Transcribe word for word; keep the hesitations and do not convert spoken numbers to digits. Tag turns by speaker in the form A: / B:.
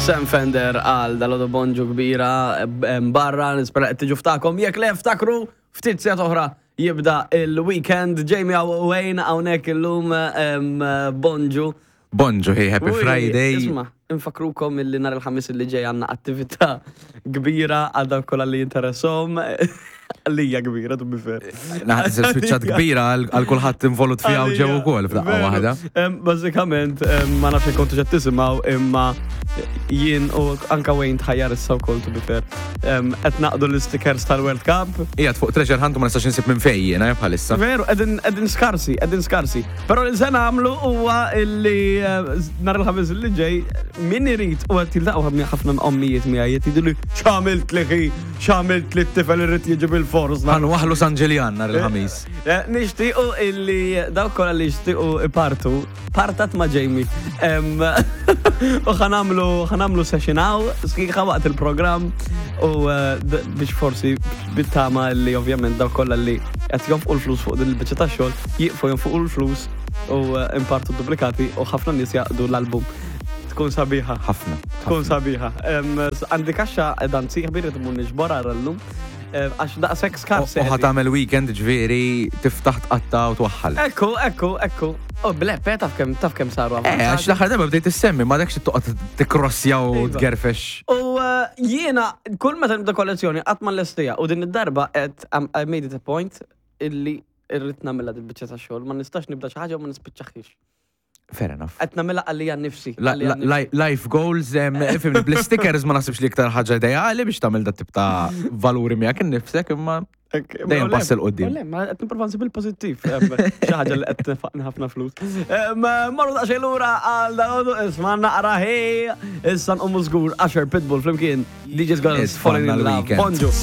A: Sam Fender għal dal-għodu bonġu kbira em, barra, nispera qed tiġu ftakom. Jekk le ftakru, ftit sigħat oħra jibda il-weekend. Jamie u Wayne hawnhekk illum em, bonġu.
B: Bonġu, hey, happy
A: Ui,
B: Friday.
A: Isma, infakrukom illi nhar il-Ħamis illi ġej għandna attività kbira għal dawk kollha li jinteressom. Għalija kbira, to be fair.
B: Naħseb spiċċat kbira għal għal kulħadd involut fiha u ġew ukoll f'daqqa
A: Veru.
B: waħda.
A: Em, Bażikament, em, ma nafx jekk kontu ġed tisimgħu imma jien u anka Wayne tħajjar issa wkoll to be fair. Em, Qed naqdu l-stickers tal-World Cup.
B: Qiegħed fuq Treasure Hunt u ma nistax insib minn fejn jiena eh, bħalissa.
A: Veru, qegħdin qegħdin skarsi, qegħdin skarsi. Però li se nagħmlu huwa illi eh, nhar il-Ħamis li ġej min irid u qed jiltaqgħu ħafna ommijiet miegħi qed jgħidu li x'għamilt li ħi, x'għamilt li t-tifel irid jiġi bil-fors.
B: Ħa nwaħħlu San Ġiljan nhar il-Ħamis.
A: Eh, Nixtiequ illi dawk kollha li jixtiequ ipartu, partat ma' Jamie. Em, U ħa nagħmlu ħa nagħmlu session hawn, sħiħa waqt il-programm u eh, d- biex forsi bit-tama li ovvjament dawk kollha li qed jonfqu l-flus fuq din il-biċċa tax-xogħol, jieqfu jonfqu l-flus u eh, impartu duplikati u ħafna nies jaqdu l-album. Tkun sabiħa.
B: Ħafna.
A: Tkun sabiħa. Em, s- Għandi kaxxa dan sieħbi rrid imur niġbor llum. Għax daqshekk skarsi.
B: U ħa tagħmel weekend ġifieri tiftaħ tqatta u twaħħal.
A: Ekku, ekku, ekku. Oh, bleppe, taf kemm taf kemm saru
B: Eh, għax l-aħħar darba bdejt issemmi, ma dakx toqgħod tikkrossja u
A: Iva.
B: tgerfex.
A: U eh, jiena, kull meta nibda kollezzjoni, qatt ma nlestija. U din id-darba qed I'm- I made it a point illi irrid nagħmilha dil-biċċa ta' xogħol, ma nistax nibda xi ħaġa u ma nispiċċaħiex.
B: Fair enough.
A: Qed nagħmilha għalija nnifsi.
B: La-
A: għalija
B: la- li- Life goals, em, ifhimni, bl-stickers ma nasibx li iktar ħaġa ideali biex tagħmel dat tip ta' valuri miegħek innifsek imma
A: nnifsi.
B: dejjem pass 'il quddiem.
A: Le, ma qed nipprova nsib il-pożittiv. Em, Xi ħaġa li qed tnefaqni ħafna flus. Em, Marru daqsxejn lura għal dal isma' naqra ħej. Issa nqumu żgur Usher Pitbull flimkien DJ's Guns
B: It's
A: Falling in
B: fun
A: Love.
B: weekend.
A: Bonġu.